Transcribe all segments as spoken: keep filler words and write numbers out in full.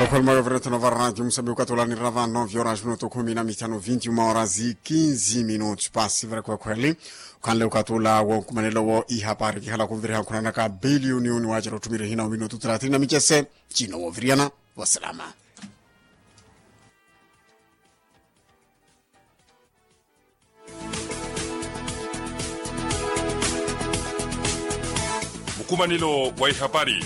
Okhweli mwa yovirethano va raadio musambiki okatula nirina vano vyorange minutu khumi na mithanu vinti uma horas quinze minutos pasi vira khwekhweli. Okhanle okatula wonkumanelo wo ihapari kihala khuviriha nkhunanaka biliyoni uni wacera otthumira ehina ominutu thelathini na micese. Cino woviriyana vosilama. Mukumanelo wa ihapari.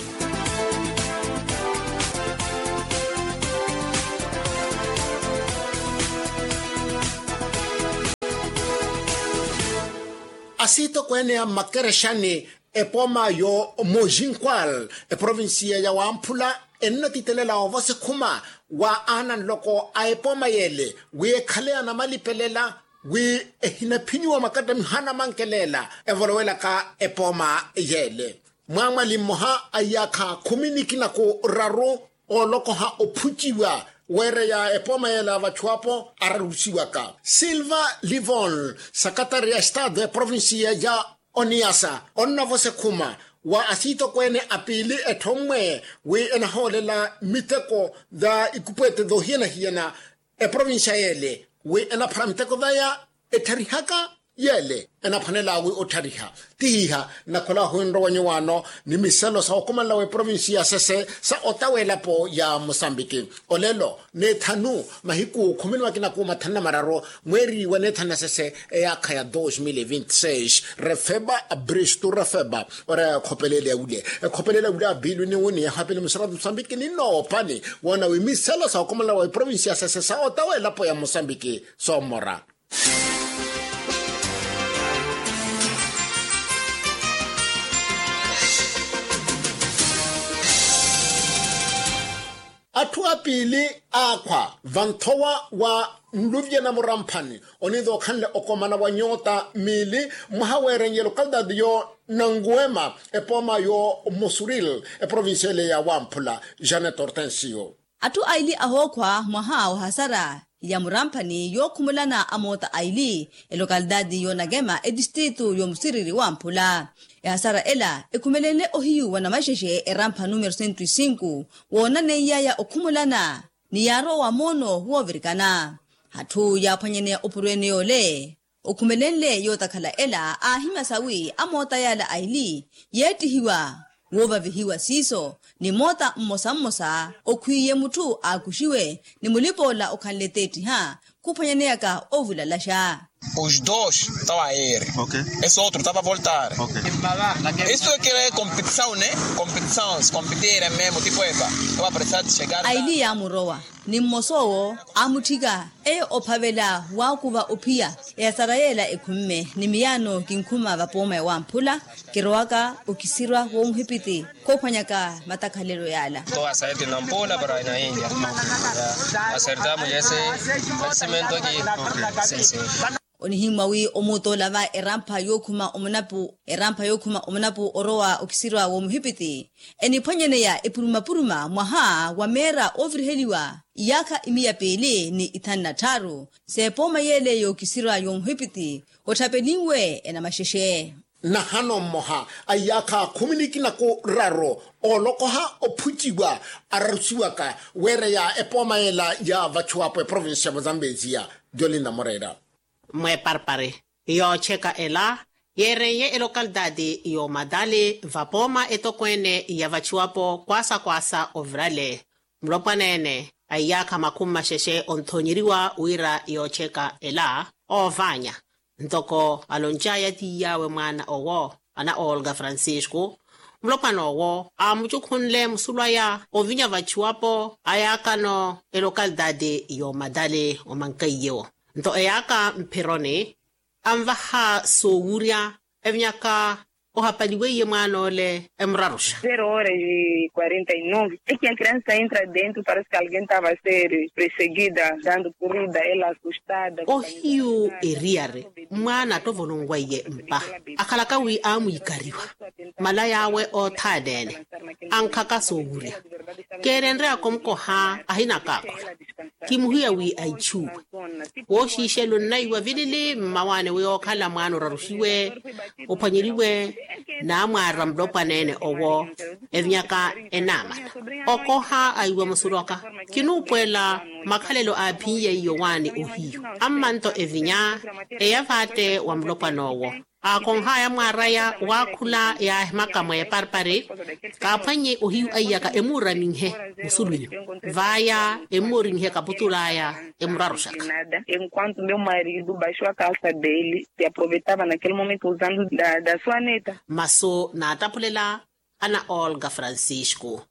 Asiitokweene a mmakerexani epooma yo mojinkwal eprovinsiya ya wamphula ennatitelela ovosa ekhuma wa aana nloko a epooma yeele wi ekhale anamalipelela wi ehinaphinyiwa makattamiho anamankelela evolowelaka epooma yeele. Mwaamwali mmoha a iyaakha khumi nikina ku raru oolokoha ophuciwa weereya epooma yeele a vachuwapo ararusiwaka silva livon sakatari a estado eprovinsiya ya oniyasa onnavosa ekhuma wa asiitokweene a piili etthommwe wi enahoolela miteko tha ikupwete thoohiyana-hiyana eprovinsiya yeele wi enaphara miteko thaya ettharihaka yeele enaphwanela wi otthariha. Tihiha nakhola ohwinrowa nyuwaano ni miselo sa okomanela wa eprovinsiya sese sa ota w'elapo ya musambiki olelo n'ethanu mahiku khumi ni makina ku mathanu na mararu mweeri wa n'ethanu na sese eyaakha ya dos mil e vinti seis refeba abristu refeba ora ekhopelele ya wule ekhopelele ya wule abilu ni wuni yahapili musiratu musambiki ni noopani woona wi miselo sa okomola wa eprovinsi ya sese sa ota w'elapo ya musambiki soomora. Atthu apiili aakhwa vanthowa wa nluvye na muramphani oniitha okhanle okomana wa nyoota miili mwaha weerenye lokalitaati yo nanguwema epooma yo musuril eprovinsiya ele ya wamphula. Janet hortensio. Atthu aili ahookhwa mwaha wa hasara ya muramphani yookhumulana amoota aili elokalitaati yo nakema etistritu yo musiriri wamphula. Ehasara ela ekhumelenle ohiyu wa namaxexe erampha numero sento e sinku woonaneiya ya okhumulana ni yaarowa moono woovirikana. Atthu yaaphwanyaneya opurweene yoole okhumelenle yootakhala ela aahimya sawi amoota yaala aili yeettihiwa woovavihiwa siiso ni moota mmosa mmosa okhwiiye mutthu aakuxiwe ni mulipoola okhanle teettiha khuphwanyaneyaka ovulalaxa. Os dos estão a ir. Esse outro estava a voltar. Isso é que é competição, né? Competição, se competirem mesmo, tipo, epa, eu vou precisar de chegar. Aili yaamurowa ni mmos'owo aamutthika eye ophavela waakuva ophiya. Eyasara yeela ekhumme ni miyaano kinkhuma vapooma ya wamphula kirowaka okisirwa w'omuhipiti khoophwanyaka matakhalelo yaala. Asertamos esse vencimento aqui. Sim, sim. Onihimmwa wi omuutola va erampha yookhuma omunapu erampha yookhuma omunapu orowa okisirwa w'omuhipiti eniphwanyaneya epurumapuruma mwaha wa meera ooviriheliwa iyaakha imiya piili ni ithanu na tthaaru. S'epooma yeele yookisirwa y'omuhipiti otthapelinwe enamaxexe. Nahano mmoha a iyaakha khumi nikina ku raru oolokoha ophuciwa ararusiwaka weereya epooma yeela ya vachuwapo eprovinsi ya mozambeziya. Jolinda moreira. Mweeparpari yooceka ela yeereiye elokalitaati y'omatali vapooma etokweene ya vachuwapo kwaasa kwaasa ovirale. Mulopwaneene a iyaakha makhumi maxexe onthoonyeriwa wira yooceka ela oovaanya ntoko aloncaaya tiiy'awe mwaana owo ana olga francisco. Mulopwana owo aamucukhunle musulu aya ovinya vachuwapo a yaakano elokalitaati y'omatali omankaiyewo nto eyaaka mphironi anvaha soowurya evinyaka ohapaliweiye mwaan'ole emuraruxa. Zero horas e quarenta e nove é que a criança entra dentro parece que alguém estava a ser perseguida dando corrida ela assustada. Ohiyu eriyari mwaana attovolonwaiye mpa akhalaka wi aamwiikariwa malaya awe othaaneene ankhaka soowurya Keerenryaaka omukoha ahinaka akhula. Kimuhiya wi aichuuwe. Wooxiixela onnaiwa vilili mmawaani wi ookhala mwaana oraruxiwe ophwanyeriwe. Naamwaara mulopwana ene owo evinyaka enaamala. Okoha aiwa musuroka. Kinuupuwela makhalelo aaphin'ye iyo waani ohiyu. Ammanto evinya eya vaatte wa mulopwana owo. Aakonh'aya mwaar'aya waakhula yaahimaka mweeparpari. Kaaphwannye ohiyu aiyaka emuuraminhe musulwinyu. Vaya emuuraminhe kaputul'aya emuraruxaka. Enquanto meu marido baixou a calça dele, se aproveitava naquele momento usando da, da sua neta. Masu naataphulela ana olga francisco.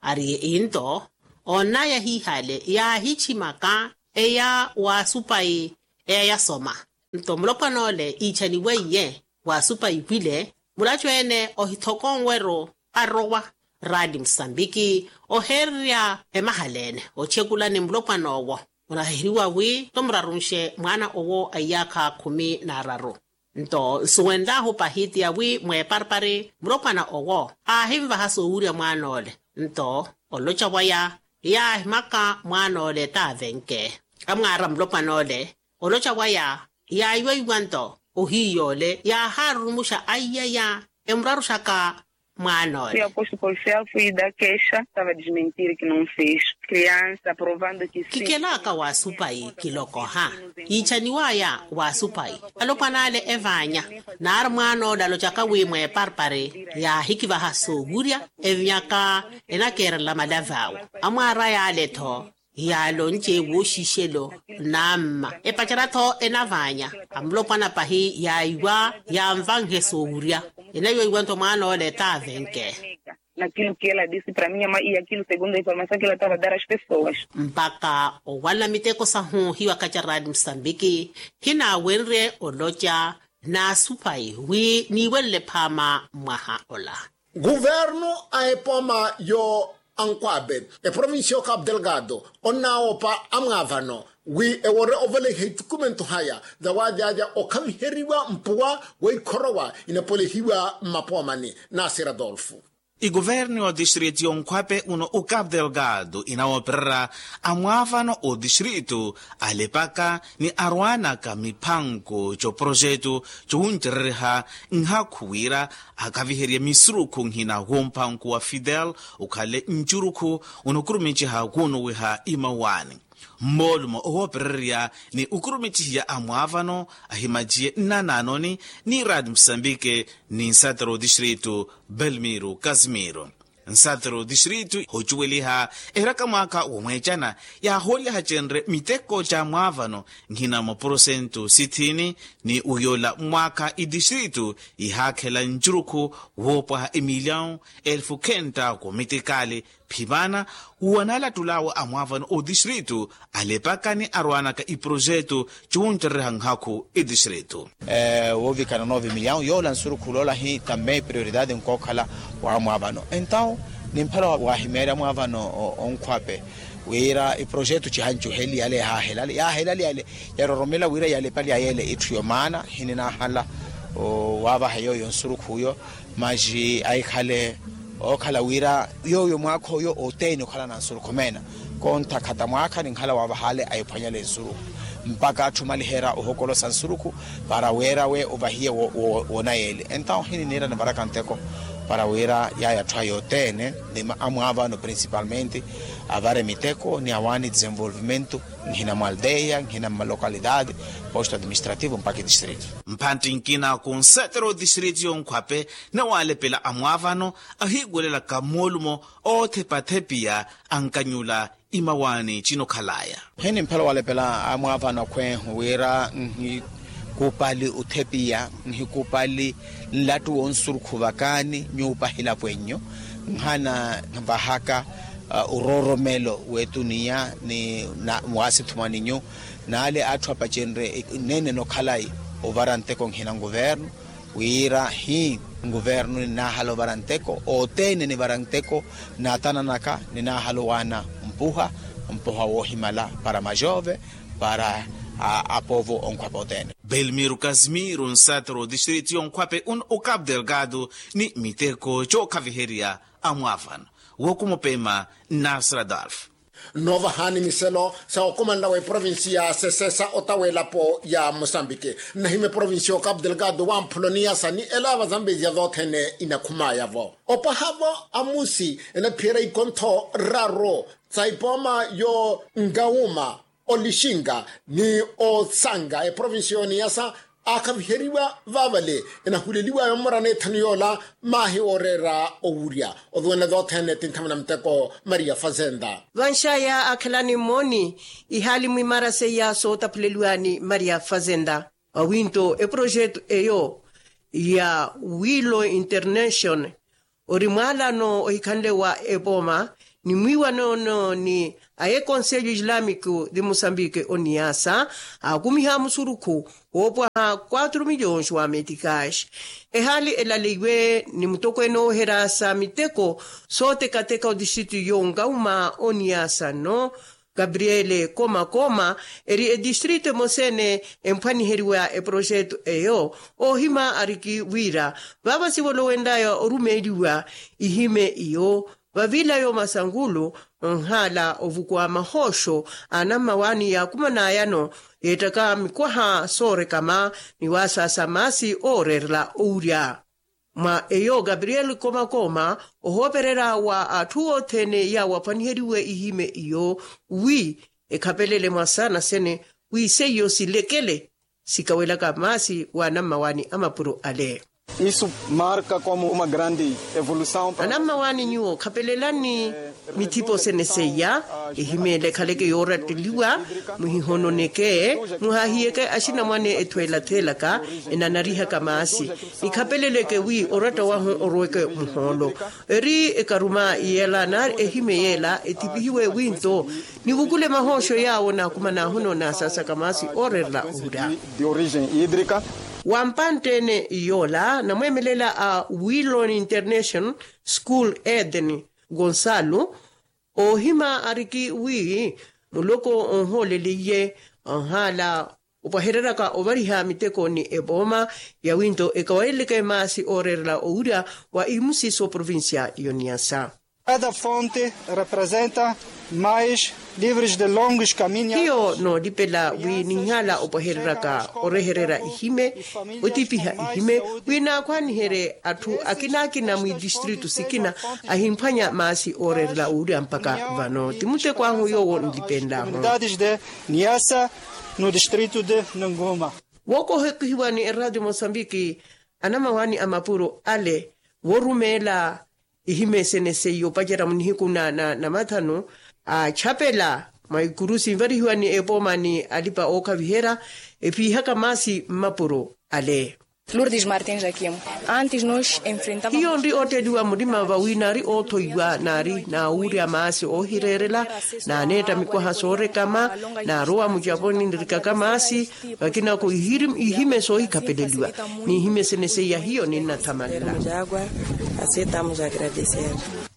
Ari into onnaya hiihale yaahichimaka eya waasupayi eya yasoma. Nto mulopwan'ole iichaniweiye waasupayi wile mulachu ene ohithokonweru arowa. Raadi musambiki oheererya emahala ene ochekulani mulopwan'owo. Onahiheriwa wi tomurarunxe mwaana owo a iyaakha khumi n'araru. Nto nsuwenlahu pahitiya wi mweeparpari mulopwana owo aahinvaha soowurya mwaan'ole. Nto oloca waya yaahimaka mwaan'ole taavenke. Amwaara mulopwan'ole oloca waya yaayiweiwa nto ohiiy'ole yaahaarurumuxa aiyaya emuraruxaka. Mwaan'ole. Fui a posto policial, fui dar queixa, estava a desmentir que não fez. Criança provando que sim. Kikelaaka waasupayi kilokoha. Yiichaniw'aya waasupayi alopwan'ale evaanya. Naari mwaan'ole alocaka wi mweeparpari yaahikivaha soowurya evinyaka enakeerela malav'awe. Amwaar'aya ale-tho yaalonce wooxixelo naamma epacera-tho enavaanya. Amulopwana pahi yaiwa yanvanhe soowurya. Enaiweiwa nto mwaan'ole taavenke. Nakilo kiyela disi para minha mãe e akilo segundo a informasaw kiyela tava dar as pessoas. Mpakha owalla miteko sahu hiwakaca radi musambiki. Hinaawenrye oloca naasupayi wi niiwelele phaama mwaha ola. Guvernu a epoma yo ankwaabe eprovincia yo cabo delgado onnaawopa amwaavano wi ewore ovoleha itukumentu haya. Zawadi alya okhaviheriwa mpuwa weikhorowa inapolehiwa mmapoomani. Nasir adolfo. Iguvernu yo distrito yonkhwape uno o cabo delgado inawoopererya amwaavano o distrito alepaka ni arwaanaka miphanko co projeto cowuncereriha nhakhu wira akaviherye misurukhu nhina womphanko wa fidel okhale ncurukhu. Unokurumiciha kuunuwiha imawaani mmoolumo owoopererya ni okurumicihiya amwaavano ahimaciye nnanaanoni ni radi musambike ni nsatero distrito belmiro casimiro. Nsatero distrito hocuweliha eheraka mwaaka womweecana yaahooliha cenre miteko ca mwaavano nhina mwa porosento sithini ni uyoola mwaaka idistrito ihaakhela ncurukhu woopwaha emilyawu elfu khenta komitikali. Phimana wanaalattul'awe amwaavano o distrito alepaka ni arwaanaka iprojeto cuwuncereriha nhakhu idistrito. Woovikana noove milyawu yoola nsurukhu loola hi tambe prioridade nkookhala wa amwaavano entawu ni mphela waahimeerya amwaavano onkhwape wira iprojeto cihancuheli yale yahaahelali yaahelali yale yaroromela wira yalepali yayeele itthu yomaana hininaahala waavaha yooyo nsurukhu yo. Maxi ahikhale ookhala wira yooyo mwaakha oyo oteeni okhala na nsurukhu meena kontha khata mwaakha ninkhala waavahale ahiphwanyale nsurukhu mpakha atthu omaliherya ohokolosa nsurukhu para wira we ovahiye wonayeeli entawu hini niira nivaraka nteko para wira yaya atthu aya oteene ni amwaavano principalmente avare miteko ni awaani desenvolvimento nhina mwa aldeia nhina mma localidade posto administrativo mpakha idistrito. Mphantti nkina khunsetera odistrito yonkhwape nawalepela amwaavano ahiiwelelaka mmoolumo oothepathepiya ankanyula imawaani cinokhalaya. Hini mphela walepela amwaavano akhweehu wira nhikupali othepiya nhikupali nlattu wonsurukhu vakaani nyuupa hilapo ennyu nhana vahaka orooromelo w'etuniya ni waasithumwaninyu n'ale atthu apacenrye nneene nokhalayi ovara nteko nhina nkuvernu wira hi nkuvernu ninaahala ovara nteko othene nivara nteko naatananaka ninaahala owaana mpuha mpuha woohimala para majove para apovo onkhwape othene. Belmiro casimiro nsatero distrito yonkhwape uno o cabo delgado ni miteko cookhaviherya amwaavano Wookumupema. Nasradolf. Nnoovahani miselo sa okomanela wa eprovinsi ya sesesa otawa elapo ya mosambiki. Nnahima eprovinsi ya okapu delgado wamphulo niyasa ni elaava zambeziya zothene inakhumaya-vo. Opwaha-vo amusi enaphiyerya ikontho raru sa ipooma yo ngauma olixinga ni osanga eprovinsi y'oniyasa aakhaviheriwa vaavale. Enahuleliwa yoomorana ethanu yoola maahi ooreera owurya oduwene dothene tinthamuna muteko maria fazenda. Vanxaya akhelani mmooni ihaali mwimara seiya sootaphuleliwani maria fazenda. Awinto eprojetu eyo ya willow internation ori mwaalano ohikhanle wa epooma ni mwiiwanoono ni a ekonselho islamico de mosambike oniyasa aakumiha musurukhu woopwaha quatro milhões wa meticais. Ehaali elaleiwe ni mutokweene ooherya sa miteko sootekateka odistritu y'onkauma oniyasa nno gabriele komakoma eri edistritu emoseene emphwaniheriwa eprojetu eyo. Oohima ariki wira vaava sivolowenlaya orumeeliwa ihime iyo vavila yo masankulu nhaala ovukuwa mahooxo a anammawaani yaakumanayano yeettaka mikwaha soorekama ni waasaasa maasi ooreerela owurya. Mwa eyo gabriel komakoma ohoopererya wa atthu othene yaawo aphwaniheriwe ihime iyo wi ekhapelele mwa saana sene wi seiyo silekele sikawelaka maasi wa anammawaani a mapuro ale. Isu marka komu uma grandi evolusaw. Anammawaani nyuwo khapelelani mithipo sene seiya ehimeela ekhaleke yooratteliwa muhihononeke muhahiyeke axinamwane ethweela theelaka enanarihaka maasi. Nikhapeleleke wi oratta wahu oroweke muhoolo eri ekaruma yeela nari ehime yeela ethipihiwe winto nivukule mahooxo yaawo naakumanaahu noonaasasaka maasi ooreerela ohurya. De origem hídrica. Wa mpantte-ene yoola namweemelela a willon internation school eden gonçalo oohima ariki wi muloko onhooleliye anhaala opwahereryaka ovariha miteko ni epooma ya winto ekawayeleke maasi ooreerela owurya wa imusiso provincia yoniyasa. Cada fonte representa mais livres de longos caminhos. Hiyo noolipela wi ninhala opwahereryaka orehererya ihime otipiha ihime wi naakhwaniherye atthu akina akina mwidistritu sikina ahimphwanya maasi ooreerela owurya mpakha vano ti muteko ahu yoowo nlipenlahu. Unidades de niasa no distrito de nanguma. Wookohekihiwa ni eradio mosambiki anamawaani a mapuro ale worumeela ihimesene seiyo opacerya munihiku na na mathanu achapela mwa ikuru sinvarihiwa ni epooma ni alipa ookhaviherya epiihaka maasi mmapuro ale. Lourdes martin jaquim antes nos enfrentava hiyo nri otteliwa murima vawi naari oothoiwa naari naawurya maasi oohireerela naaneetta mikwaha soorekama naarowa mucaponi nirikaka maasi vakinako ihime soohikhapeleliwa n'ihime sene seiya hiyo ninnathamanela.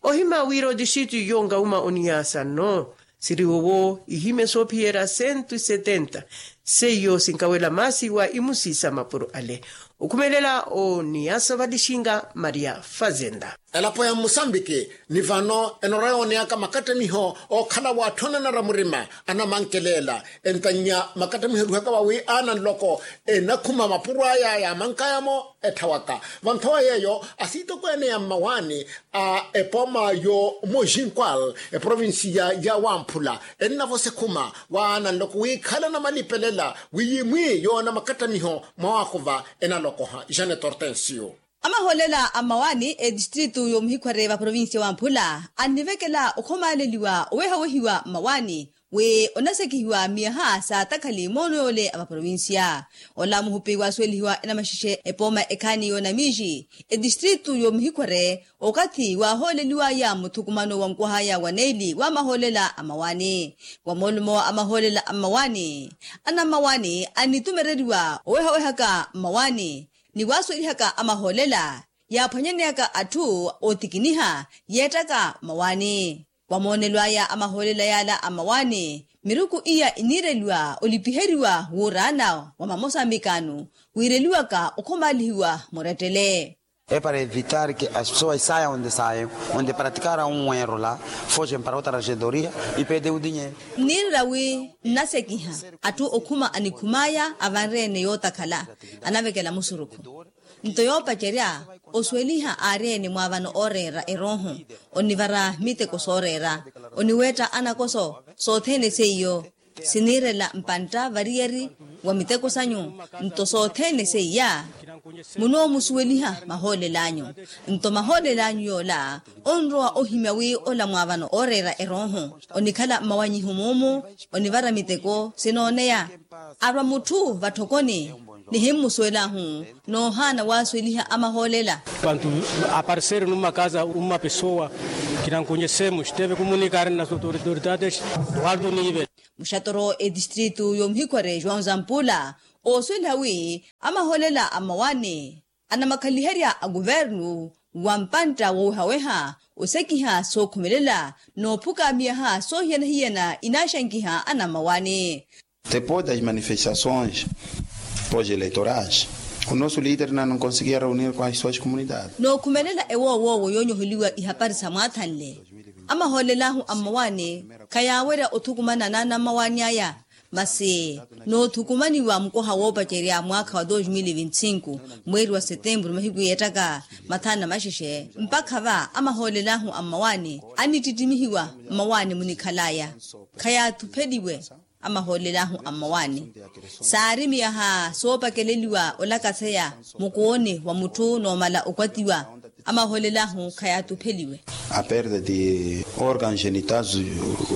Ohima wira otixitu yonkauma oniyasa nno siri owo ihime soophiyerya cento e setenta seiyo sinkawela maasi wa imusi sa mapuro ale. Okhumelela oniyasa valixinga maria fazenda. Elapo ya mmusambiki ni vano enorwa yooneyaka makattamiho ookhala waatthonanara murima anamankelela entannya makattamiho eruhaka vawi aana nloko enakhuma mapuro aya yaamankayamo etthawaka. Vanthowa yeeyo asiitokweene ya mmawaani a epooma yo mojinkwal eprovinsiya ya wamphula ennavosa ekhuma waana nloko wiikhala namalipelela wiyimwi yoona makattamiho mwa waakuva enalokoha janet hortensio. Amahoolela a mmawaani etistritu yomuhikhware va provinsiya wamphula annivekela okhomaaleliwa owehawehiwa mmawaani wi onasekihiwa miyaha sa takhali moono yoole a vaprovinsiya. Ola muhupi waasuwelihiwa enamaxexe epooma ekhaani yoonamiixi etistritu yomuhikhware okathi waahooleliwaya muthukumano wa nkwahaya wa neili wa mahoolela a mmawaani wa moolumo a mahoolela a mmawaani anammawaani annitumereriwa owehawehaka mmawaani ni waasuwelihaka a mahoolela yaaphwanyaneyaka atthu ootikiniha yeettaka mmawaani. Wa moonelo aya a mahoolela yaala a mmawaani miruku iya iniireliwa olipiheriwa wuuraana wa mamosambikaano wiireliwaka okhomaalihiwa murettele. É para evitar ke as pessoas saiam onde saiam, onde praticaram um erro lá, fogem para outra regedoria e perdem o dinheiro. Nniirira wi nnasekiha atthu okhuma anikhum'aya avanre-ene yootakhala, anavekela musurukhu. Nto yoopacerya osuweliha aari-ene mwaavano ooreera erooho, onivara miteko sooreera, oniweetta anakoso, sothene seiyo siniirela mpantta variyari wa miteko sanyu. Nto sothene seiya munoomusuweliha mahoolel'anyu. Nto mahoolel'anyu yoola onrowa ohimya wi ola mwaavano ooreera erooho, onikhala mmawanyiho muumu, onivara miteko sinooneya. Arwa mutthu vatthokoni nihimmusuwelahu, noohaana waasuweliha amahoolela. Pantu apareseru numakaza uma pesowa, kinankunyesemu xiteve kumunikari na sotoridade. Waltu niivela. Muxatoro etistritu y'omuhikhware joão zampula oosuweliha wi amahoolela a mmawaani anamakhaliherya a kuvernu wa mpantta woowehaweha osekiha sookhumelela, noophuka miyaha soohiyana-hiyana inaaxankiha anammawaani. Depois das manifestações pós-eleitorais, o nosso líder não conseguia reunir com as suas comunidades. Nookhumelela ewoowoowo yoonyoholiwa ihapari sa mwaathanle, amahoolelahu a mmawaani khayaawerya othukumana n'anammawaani aya. Masi noothukumaniwa mukoha woopacerya mwaakha wa dos mil e vinte e cinco, mweeri wa setemburu mahiku yeettaka mathanu na maxexe mpakha va amahoolelahu a mmawaani anittittimihiwa. Mmawaani munikhal'aya khayathupheliwe. Amahoolelahu a mmawaani saari miyaha soopakeleliwa olakaseya mukooni wa mutthu noomala okwatiwa. Amahoolelahu khayathupheliwe. A perda de órgãos genitais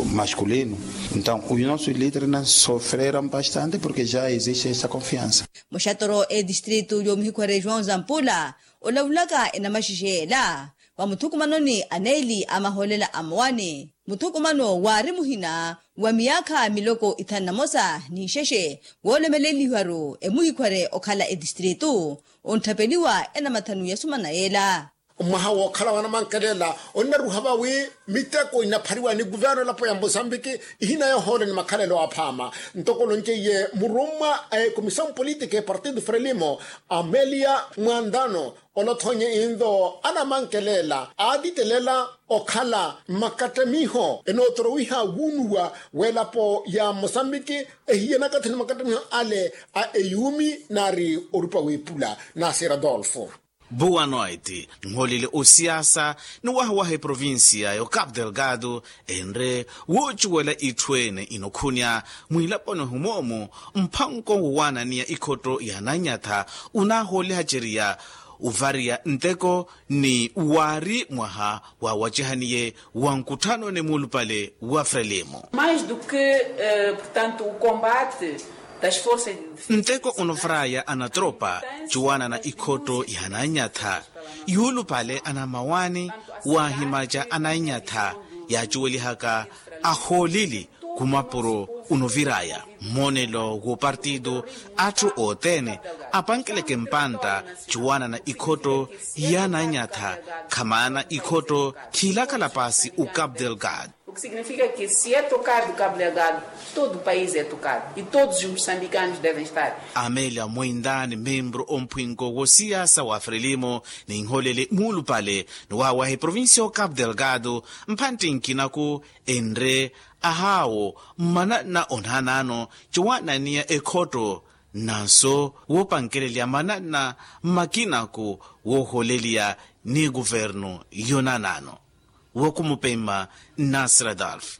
masculino. Então os nossos líderes sofreram bastante porque já existe essa confiança. Muxatoro etistritu y'omuhikhware joão zampula olavulaka enamaxexe ela va muthukumanoni aneeli a mahoolela a mmawaani. Muthukumano waari muhina wa miyaakha miloko ithanu na mosa n'ixexe woolomeleliwaru emuhikhware okhala etistritu, ontthapeliwa enamathanu ya sumana yeela. Mwaha wookhala wanamankelela onnaruha vawi miteko inaphariwa ni kuvernu elapo ya mosambiki, ihina yoohoole ni makhalelo aphaama. Ntoko olonceiye murummwa a ekomissão política e partido frelimo, amelia mwandano, olothonye inlo anamankelela aatitelela okhala makattamiho enootorowiha wuunuwa w'elapo ya mosambiki, ehiye nakathi ni makattamiho ale a eyuumi naari orupa w'epula. Nasir adolfo. Boa noite. Nholele osiasa ni wahawaha eprovincia y'ocapo delgado, enre woocuwela itthu ene inokhunya mwilaponi humoomu, mphanko wowaananiya ikhotto ya nanyatha unaahoolehaceriya uvariya nteko ni waari mwaha waawacihaniye wa nkutthanoni muulupale wa frelimo. Mais do que portanto o combate das forças de defesa, nteko onovaraya anatropa cuwaanana ikhotto ya nanyatha, yuulupale anamawaani waahimaca ananyatha yaacuwelihaka ahooleli khumapuro unoviraya. Mmoonelo w'opartido atthu othene apankeleke mpantta cuwaanana ikhotto ya nanyatha, khamaana ikhotto khiilakhala paasi o capo delgado. O que significa que se é tocado capo delgado, todo o país é tocado e todos os moçambicanos devem estar. Amelia mwindaani membru omphwinko w'osiyasa wa frelimo, ninholele muulupale ni waawaha eprovincia o capo delgado, mphantte nkinaku enre ahaawo mmananna onaanaano cuwaananiya ekhotto, nanso woopankelelya mananna mmakinaku wooholeliya ni kuvernu yonaanaano. Wokumupemma nasir adolf.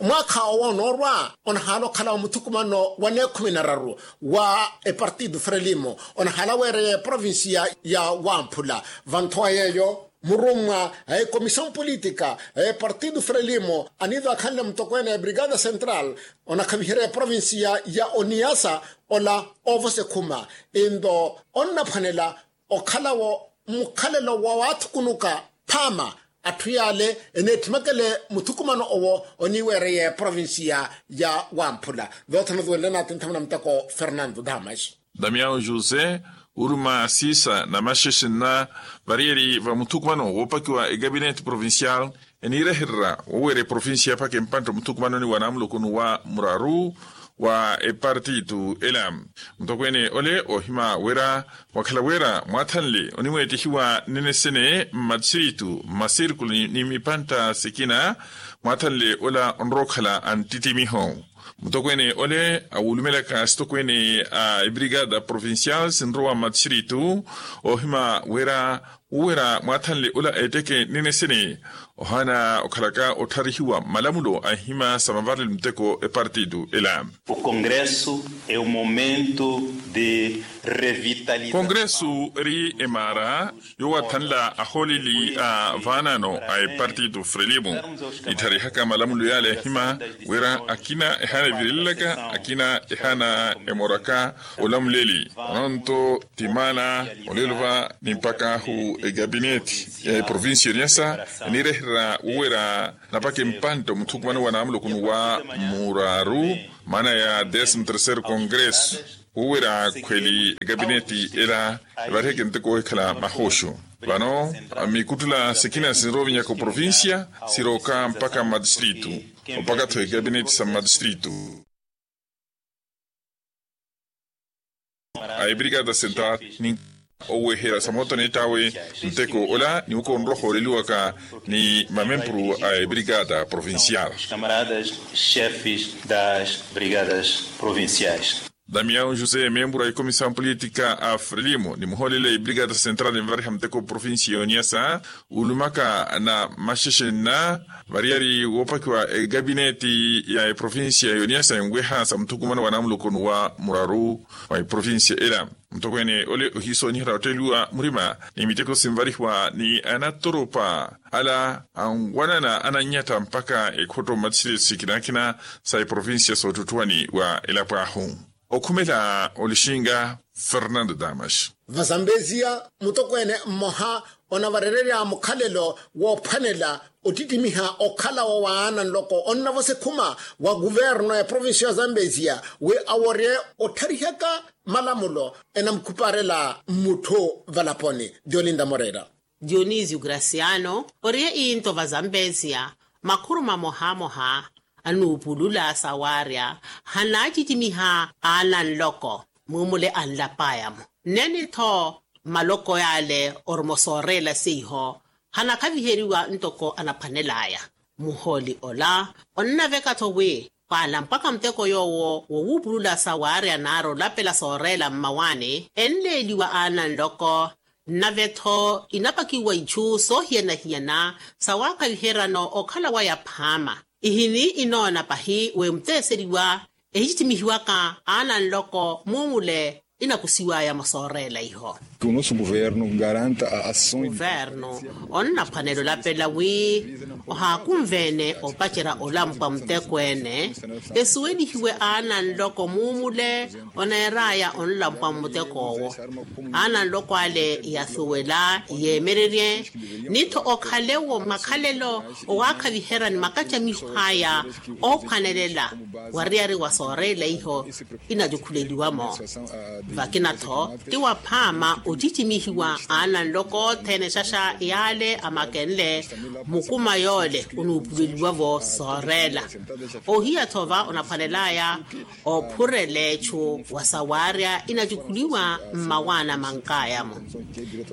Mwaakha owo onoorwa onahaala okhala wa muthukumano wa neekhumi na raru wa epartido frelimo, onahaala weereya eprovincia ya wamphula. Vanthowa yeeyo murummwa a ekomissão política a epartido frelimo aniivaakhanle mutokweene a ebrigada central, onakhaviherya eprovincia ya oniasa ola oovosa ekhuma. Inlo onnaphwanela okhalawo mukhalelo wa waathukunuka phaama atthu yaale eneetthimakele muthukumano owo oniiweereya eprovincia ya wamphula. Voothana ozuwenle naatinthana na muteko fernando damas. Damião josé, uruma siisa na maxexe nna variyari va muthukumano woopakiwa egabinete provincial, eniirehererya woweera eprovincia yaphaka empantta muthukumanoni wa namulokoni wa muraru. wa epartitu ela. Mutokweene ole ohima wira mwakhala wira mwathanle onimweettihiwa nnene sene mmatxiritu mmasirkulu ni mipantta sikina mwathanle ola onrowa okhala anttittimiho. Mutokweene ole awulumelaka sitokweene a ebrigada provincial sinrowa mmatxiritu ohima wira wuwira mwathanle ola etteke nnene sene ohaana okhalaka ottharihiwa malamulo a nhima sa mavarelo muteko epartitu ela. O congresso é o momento de revitalização. Congresso eri emaara yoowathanla ahooleli a vaanano a epartitu frelimo. Nittharihaka malamulo yaale ahima wira akina ehaana evirelelaka akina ehaana emoraka olamuleli ononto ti maana. Olelo va ni mpak'ahu egabineti ya eprovincia yoniasa enireherya wuwira napaka empantta omuthukumano wa naamulokoni wa muraru maana ya décimo terceiro congresso wuwira khweli egabineti ela evariheke nteko ohikhala mahoxu. Vano mikuttula sikina sinrovinyaka oprovincia siroka mpaka mmatistritu mpaka-tho egabineti sa mmatistritu. A ebrigada central ni oweherya sa moto neett'awe nteko ola ni wuko onrohooreliwaka ni mamempuru a ebrigada provincial. Camaradas chefes das brigadas provinciais. Damião josé memburu a ikomisaw politika a frelimo ni muhooleli a ebrigada central envariha muteko provincia yoniasa ulumaka na maxexe nna variyari woopakiwa egabineti ya eprovincia yoniasa enweha sa muthukumano wa naamulokoni wa muraru wa eprovincia ela. Mutokweene ole ohiisooniherya otteeliwa murima ni miteko sinvarihiwa ni anatoropa ala anwanana anannyatta mpaka ekhotto mmatthiri sikinakina sa eprovincia soottuttuwani wa elapo ahu. Okhumela olixinga fernando damas. Vazambezia mutokweene mmoha onavarererya mukhalelo woophwanela ottittimiha okhala wa waana nloko onnavosa ekhuma wa kuverno ya provincia ya zambezia wi aworye ottharihaka malamulo enamukhuparela mmutthu valaponi. Diolinda moreira. Dionisio graciano oriye into vazambezia makhuru mamohamoha anuupulula sawaarya hanaacicimiha aana nloko muumule anlapaya-mo nnene-tho maloko yaale oruma osooreela seiho hanakhaviheriwa ntoko anaphwanel'aya. Muhooli ola onnaveka-tho wi khwaala mpakha muteko yoowo wowuupulula sawaarya naari olapela sooreela mmawaani enleeliwa aana nloko nnave-tho inapakiwa ichu soohiyana-hiyana sawaakhaviheryano okhala waya phaama. Ihini inoona pahi wi muteeseriwa ehicicimihiwaka aana nloko muumule inakusiwaya mosooreela iho. Kuvernu onnaphwanela olapela wi ohaakunve-ene opacerya olampwa mutekweene esuwelihiwe aana nloko muumule oneeraya onlampwa mmutek'owo. Aana nloko ale yasuwela yeemererye ni-tho okhalewo makhalelo owaakhaviherya ni makacamiho aya oophwanelela wariyari wa sooreela iho inacukhuleliwa-mo. Vakina-tho ti waphaama ocicimihiwa aana nloko othene xaxa yaale amakenle mukuma yoole onuupuleliwa-vo sooreela. Ohiya-tho va onaphwanel'aya ophurela echu wa sawaarya inacukhuliwa mmawaana mank'aya-mo.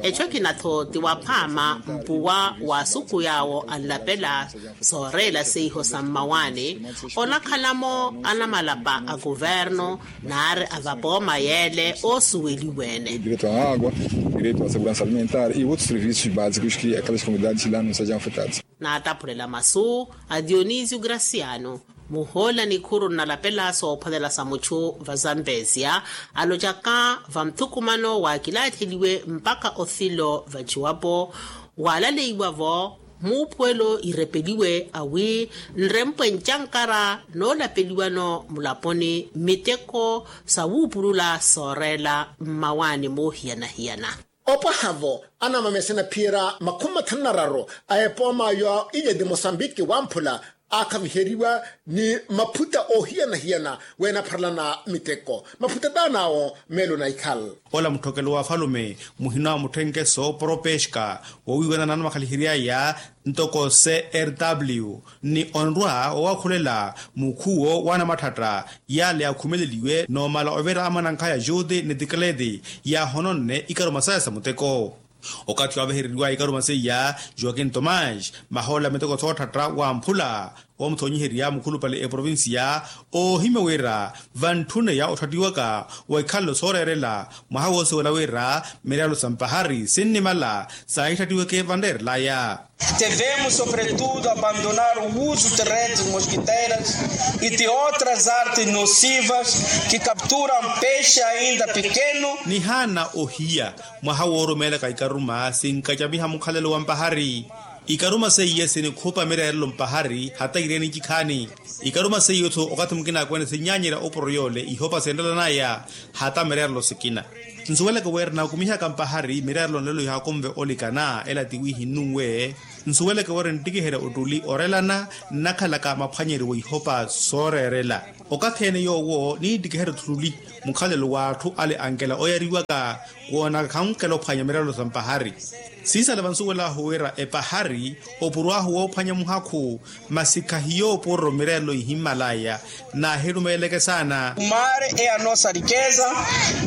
Echu ekina-tho ti waphaama mpuwa wa asuku yaawo anlapela sooreela seiho sa mmawaani onakhala-mo anamalapa a kuvernu naari a vapooma yeele oosuweliwa-ene. Direito a água, direito a seguransa alimentar e outros serviços básicos que aquelas comunidades lá não sejam afetadas. Naataphulela masu a dionisio graciano muhoola nikhuru nnalapela soophwanela sa muchu va zambezia alocaka va muthukumano waakilaatheliwe mpakha othilo vaciwapo waalaleiwa-vo muuphuwelo irepeliwe awi nrempwe ncankara noolapeliwano mulaponi miteko sa wuupulula sooreela mmawaani moohiyana-hiyana. Opwaha-vo anamamese naphiyerya makhumi mathanu na raru a epooma yo ilye ti mosambiki wamphula aakhaviheriwa ni maphuta oohiyana-hiyana weenapharelana miteko. Maphuta taan'awo meelo na ikhal. Ola mutthokelo wa afalume muhina wa mutthenkeso propeska wowiiwanana na makhalihery'aya ntoko crw ni onrwa owaakhulela mukhuwo w'anamathatta yale yakhumeleliwe n'omala ovira amanankhaya juti ni tikleti yaahononne ikaruma saya sa muteko. Okathi waavehereriwaya ikaruma seiya joakin tomas mahoola miteko soothatta wamphula woomuthonyiherya mukhulupale eprovinsiya oohimya wira vantthuneya otthattiwaka wa ikhalelo sooreerela mwaha woosiwela wira mireelo sa mpahari sinnimala saahittattiweke vanreerelaya. Devemos sobretudo abandonar o uso de redes mosquiteiras e de outras artes nocivas que capturam peixe ainda pequeno. Nihaana ohiya mwaha woorumeelaka ikaruma sinkacamiha mukhalelo wa mpahari. Ikaruma seiye sinikhupa mireerelo mpahari hata ireeni ncikhaani. Ikaruma seiye-tho okathi mukina akweene sinnyanyerya opuro yoole ihopa senrelanaya hata mireerelo sikina. Nsuweleke wira naakumihaka mpahari mireerelo nlelo ihaakumve olikana ela tiwiihi nnunwe. Nsuweleke wira nttikiherya ottuli orelana nnakhalaka maphwanyeriwo ihopa sooreerela. Okathi-ene yoowo niittikiherya ottuli mukhalelo w'atthu ale ankela oyariwaka woonaka khankela ophwanya mireerelo sa mpahari. Siisala vansuwel'ahu wira epahari opuro ahu woophwanya muhakhu masi khahiyo opuro mireerelo ihimmalaya naahirumeeleke saana. O mar é a nossa riqueza,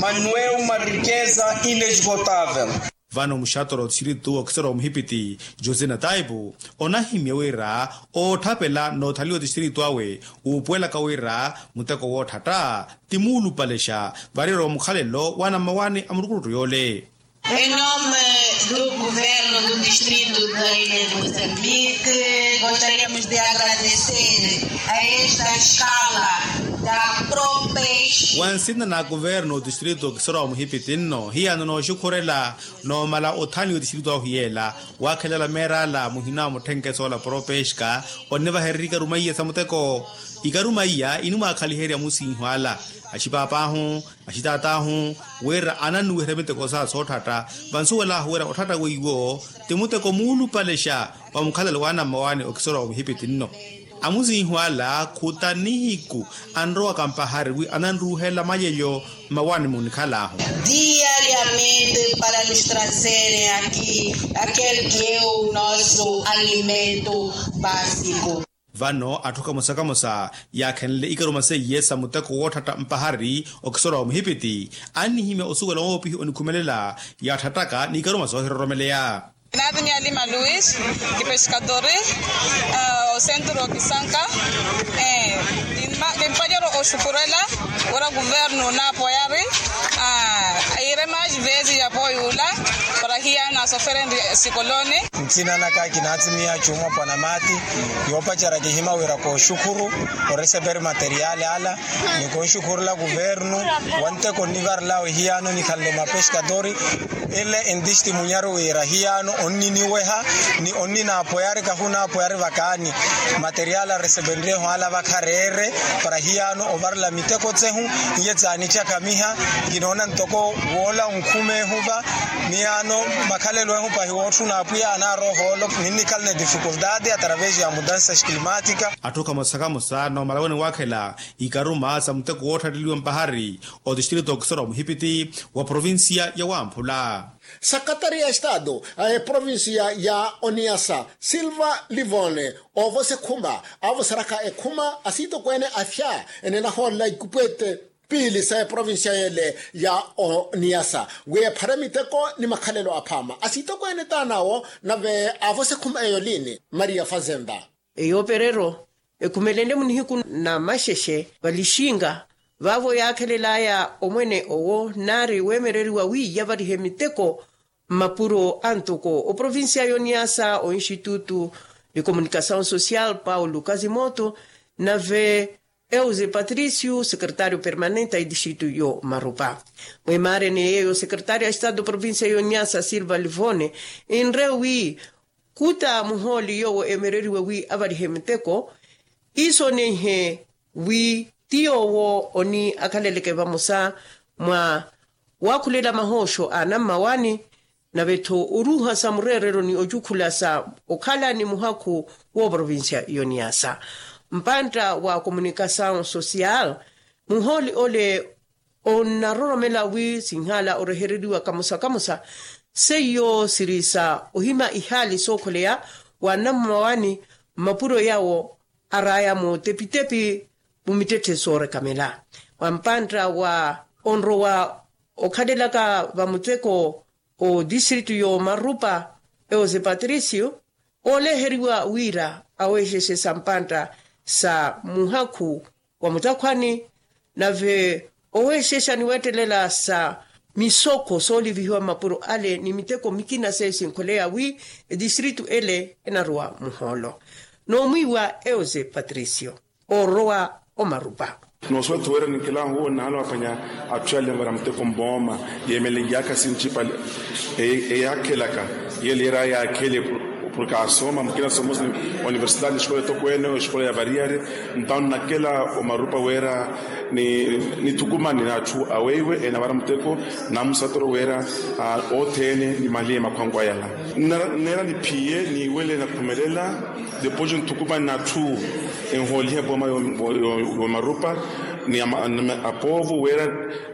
mas não é uma riqueza inesgotável. Vano muxatoro wa tixtiritu okisoro wa muhipiti josina taipu onahimya wira ootthapela n'othaliwa otixtiritu awe uupuwelaka wira muteko wootthatta ti muulupalexa variro wa mukhalelo w'anammawaani a murukuruttu yoole. Em nome do governo do distrito da ilha de moçambique, gostaríamos de agradecer a esta escala da propes. Wa nsina na kuverno otistrito okisoro wa muhipiti nno hiyano nooxukhurela noomala othaniwa otistrito ahu yeela waakhelala meerala muhina wa mutthenkeso ola propeska onnivahererya ikaruma iya sa muteko. Ikaruma iya inimwaakhaliherya amusinhu ala axipaapahu axitaat'ahu wira anannuwiherya miteko sa sootthatta. Vansuwel'ahu wira otthatta weiwo ti muteko muulupalexa wa mukhalelo w'anammawaani okisoro wa muhipiti nno. Amusinhu ala khuta nihiku anrowaka mpahari wi ananruuhela mayelyo mmawaani munikhal'ahu. Diariamente para nos trazerem aqui aquele que é o nosso alimento básico. Vano atthu kamosa-kamosa yaakhenle ikaruma seiye sa muteko wootthatta mpahari okisoro wa muhipiti annihimya osuwela woopihi onikhumelela yaatthattaka n'ikaruma soohiroromeleya. Naatimiya lima luis, kipeskadori osentro kisanka. Kimpanyero oxukurela wira kuvernu naapoyari iirema xivesi ya poyula para hiyana soferenri sikoloni. Nthina naka kinaatimiya cuuma pwanamati yoopacerya kihima wira kooxukhuru oreseperi materiali ala ni konxukhurula kuvernu wa nteko nnivarelawe hiyano nikhanle mapeskadori. Ele entistimunyaru wira hiyano onniniweha ni onninaapoyari kahunaapoyari vakaani materiali aresepenryehu ala vakhareere para hiyano ovarela miteko tsehu. Iye tsaanicakhamiha kinoona ntoko woola onkhumeehu va ni ano makhalelo ehu pahi wootthuna apwiya anaara ohoolo ninnikhala ni difikultati atravesi ya mudansa climatika. Atthu kamosa-kamosa noomala wene waakhela ikaruma sa muteko wootthatteliwa mpahari otistrito okisoro wa muhipiti wa provinsiya ya wamphula. Sakatari ya estado a eprovinsiya ya oniyasa silva livone oovose khuma aavoseraka ekhuma asiitokweene afya ene nahoolela ikupwete piili sa eprovinsiya yele ya oniyasa wi ephare miteko ni makhalelo aphaama asiitokweene taanawo nave aavose ekhuma eyo liini maria fazenda. Eyo perero ekhumelenle munihiku na maxexe valixinga vaavo yaakhelelaya omwene owo naari weemereriwa wi yavarihe miteko mmapuro antoko oprovinsiya yoniyasa oinstitutu de comunicasaw sosial paulo kazimoto nave euze patricio sekretario permanente a edistrito yo marupa. Mwimaareni yeeyo sekretario a estado provinsiya yoniyasa silva livone inre wi khuta muhooli yoowo eemereriwe wi avarihe miteko iisoneihe wi ti yoowo oni akhaleleke vamosa mwa waakhulela mahooxo a anammawaani nave-tho oruuha sa mureerelo ni ocukhula sa okhala ni muhakhu w'oprovincia y'oniyasa. Mpantta wa komunikasaw sosiyal, muhooli ole onnaroromela wi sinhala orehereriwa kamosa kamosa, seiyo siri sa ohima ihaali sookholeya wa anammawani mmapuro yawo araya mutepitepi mu mittetthe soorekamela. Wa mpantta wa onrowa okhalelaka vamuteko otistritu y'omarupa, eose patricio, ooleheriwa wira aweexexe sa mpantta sa muhakhu wa mutakhwani, nave oweexexa ni weettelela sa misokho soolivihiwa mmapuro ale ni miteko mikina seiyo sinkholeya wi etistritu ele enarowa muhoolo. Noomwiiwa eose patricio oorowa omarupa. Noosuwela-tho wira ninkilaahu owo nnahala waphwanya atthu yale vara muteko mpooma yeemeleyaka sinci pale, eyaakhelaka yele yeera yaakhele. Porke asooma mukina soomose oniversitali esikola etokweene esikola ya variyari. Ntawo nnakela omarupa wira nithukumane n'atthu aweiwe enavara muteko, namusatoro wira othene nimaliye makhwanku ayala. Nneera niphiye niwele nakhumelela. Depois nthukumani n'atthu enhooliha epooma y'omarupa ni apoovo wira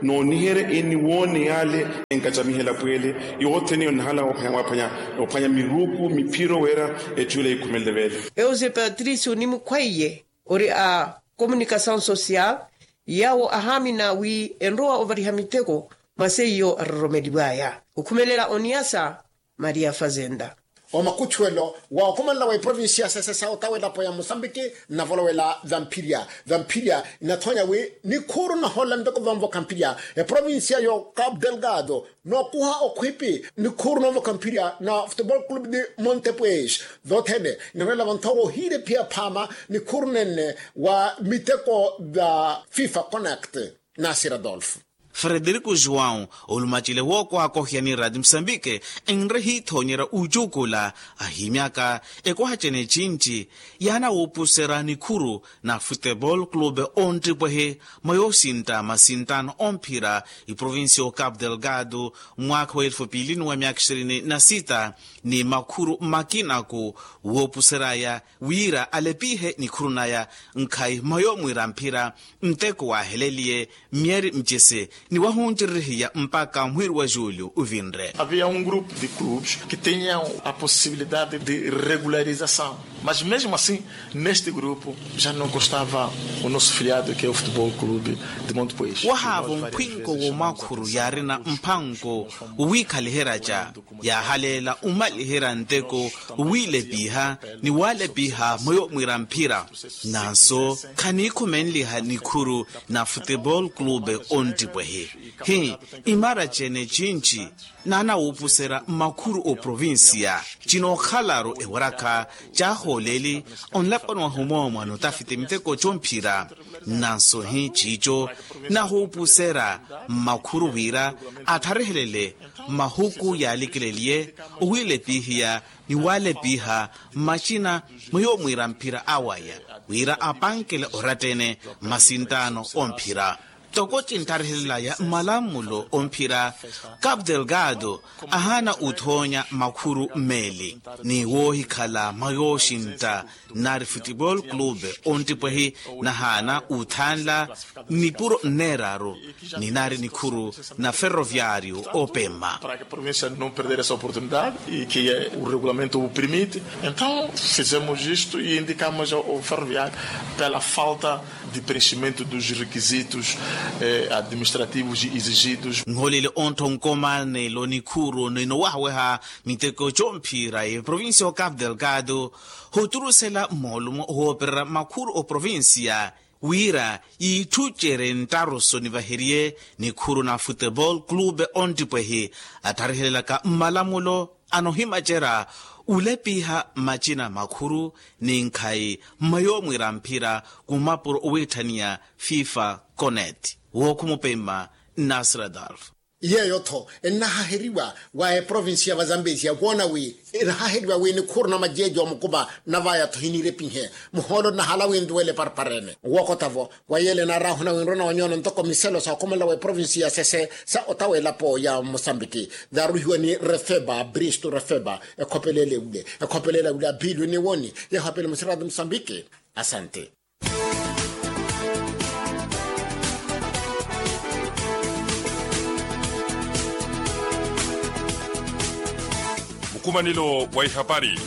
nooniherya eniwoone yale enkacamiha elapwele. Yothene yonnahala waphwanya miruku miphiro wira etthu yila yikhumelele veele. Eose patricio ni mukhwaiye ori a komunikasaw sosiyal, yawo ahaamina wi enrowa ovariha miteko mwa seiyo aroromeliw'aya okhumelela oniyasa. Maria fazenda. Omakutthuwelo wa okhumanela wa eprovincia ya sesesa otawelapo ya mosambiki nnavolowela vamphirya vamphirya inathoonya wi nikhuuru nahoolela miteko vanvo khamphirya. Eprovincia yo cabo delgado nookuha okhwipi nikhuuru noonvo khamphirya na futebol club de montepues. Vothene inarwelela vanthoowa ohiilephiya phaama nikhuuru nenne wa miteko va fifa connect. Nasir adolfo. Frederico joão olumacile wookwakohya ni rati musambike enre hiithoonyerya ucukula ahimyaka ekoha cene cinci yaana wuupuserya nikhuru na futebol clube onttipwehe mwa yoosintta masinttaano omphira iprovincia o cabo delgado mwaakha wa elfu piili ni wa myaakha ishirini na sita ni makhuru makinaku woopusery'aya wira alepihe nikhuru naya nkhayi mwa yoomwiira mphira nteko waaheleliye myeri micese ni wahunciririhiya mpakha mwiiri wa julio uvinre. Havia um grupo de clubes que tinham a possibilidade de regularização mas mesmo assim neste grupo já não constava o nosso filiado que é o futebol clube de monte pois wahaavo mphwinko w'omakhuru yaarina mphanko wiikhaliheryaca yaahaleela omaliherya nteko wiilepiha ni waalepiha mwa yoomwiira mphira. Nanso khaniikhumenliha nikhuru na futebol clube onttipwehi hi imara cene cinci naana wuupuserya mmakhuru oprovincia cinookhalaru ewarakha caahooleli onlaponi wahu moomwa notafiti miteko comphira. Nanso hi ciico nahuupuserya mmakhuru wira attharihelele mahuku yaalikeleliye owiilepihiya ni waalepiha mmacina mwa yoomwiira mphira awaya wira apankele oratta-ene mmasinttaano omphira. Toko cinttarihelelaya mmalamulo omphira cabo delgado ahaana uthoonya makhuru mmeeli ni woohikhala mwa yooxintta nari futebol clube onttipwehi nahaana uthanla nipuro nneeraru ni nari nikhuru na ferroviario opema. Para que a província não perder essa oportunidade e que o regulamento o permite então fizemos isto e indicamos ao ferroviário pela falta de preenchimento dos requisitos administrativos exigidos. Nholele onttho nkomanelo nikhuru ninowahaweha miteko comphira eprovincia o cabo delgado hoturusela moolumo hoopererya makhuru oprovincia wira yiitthucerye nttaruso nivaheriye nikhuru na futebol clube onttipwehi attharihelelaka mmalamulo anohimacerya ulepiha mmacina makhuru ni nkhayi mma yoomwiira mphira khumapuro owiitthaniya fifa conet wookhumupemma. Nasradolf. Yeeyo-tho ennahaheriwa wa eprovinsi ya vazambezia woona wi enahaheriwa wi nikhuuruna majeeji omukuva. Navaya-tho hiniire epihe muhoolo nnahala wi ntuwele eparparene. Wookota-vo wa yeele naarahuna wi nronawa nyoono ntoko miselo sa okhomelela wa eprovinsi ya sese sa otawa elapo ya mosambiki. Yaaruhiwa ni refeba bristo refeba. Ekhopelele wule ekhopelele wule aphilwe ni woni. Yeeho apele musirati mosambiki. Asante. Mukumanelo wa ihapari.